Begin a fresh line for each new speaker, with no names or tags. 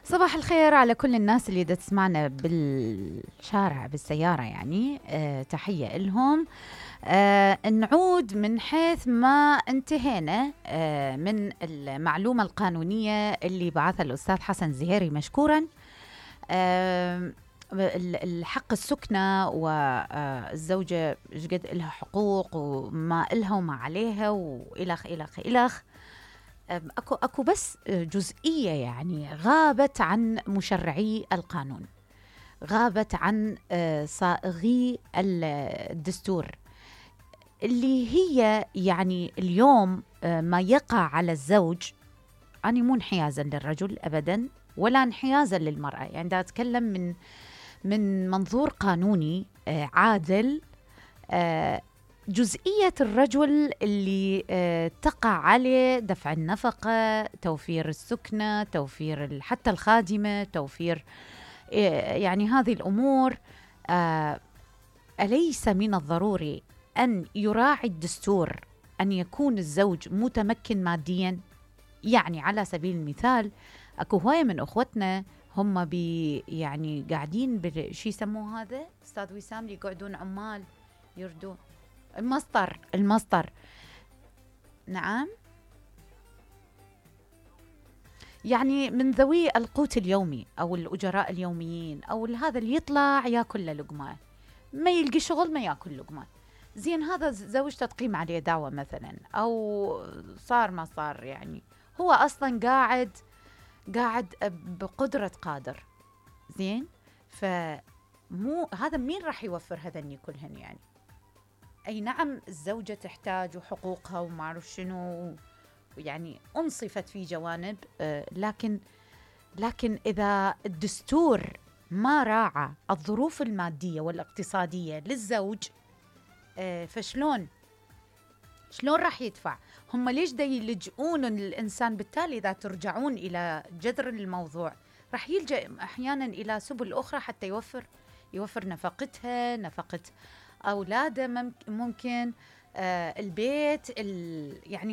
صباح الخير على كل الناس اللي دا تسمعنا بالشارع بالسيارة، يعني تحية إلهم. نعود من حيث ما انتهينا من المعلومة القانونية اللي بعثها الأستاذ حسن زهيري مشكورا. الحق السكنة والزوجة قد إلها حقوق وما إلها وما عليها وإلخ إلخ إلخ. أكو بس جزئية يعني غابت عن مشرعي القانون، غابت عن صائغي الدستور، اللي هي يعني اليوم ما يقع على الزوج. أنا مو انحيازا للرجل أبدا ولا انحيازا للمرأة، يعني دا أتكلم من منظور قانوني عادل. جزئية الرجل اللي تقع عليه دفع النفقة، توفير السكنة، توفير حتى الخادمة، توفير يعني هذه الأمور. أليس من الضروري أن يراعي الدستور أن يكون الزوج متمكن ماديا؟ يعني على سبيل المثال أكو هواية من أخوتنا هم يعني قاعدين شي يسموه هذا أستاذ وسام، اللي يقعدون عمال يردون المسطر. نعم، يعني من ذوي القوت اليومي أو الأجراء اليوميين أو هذا اللي يطلع ياكل لقمة، ما يلقي شغل ما ياكل لقمة. زين هذا زوجته تقيم عليه دعوة مثلا، أو صار ما صار، يعني هو أصلا قاعد بقدرة قادر. زين، فمو هذا مين راح يوفر هذني كلهن؟ يعني أي نعم الزوجة تحتاج وحقوقها وما أعرف شنو، يعني أنصفت في جوانب، لكن إذا الدستور ما راعى الظروف المادية والاقتصادية للزوج، فشلون راح يدفع؟ هم ليش دا يلجؤون الإنسان؟ بالتالي إذا ترجعون إلى جذر الموضوع راح يلجأ أحيانا إلى سبل أخرى حتى يوفر نفقتها، نفقة أولاده، ممكن البيت، يعني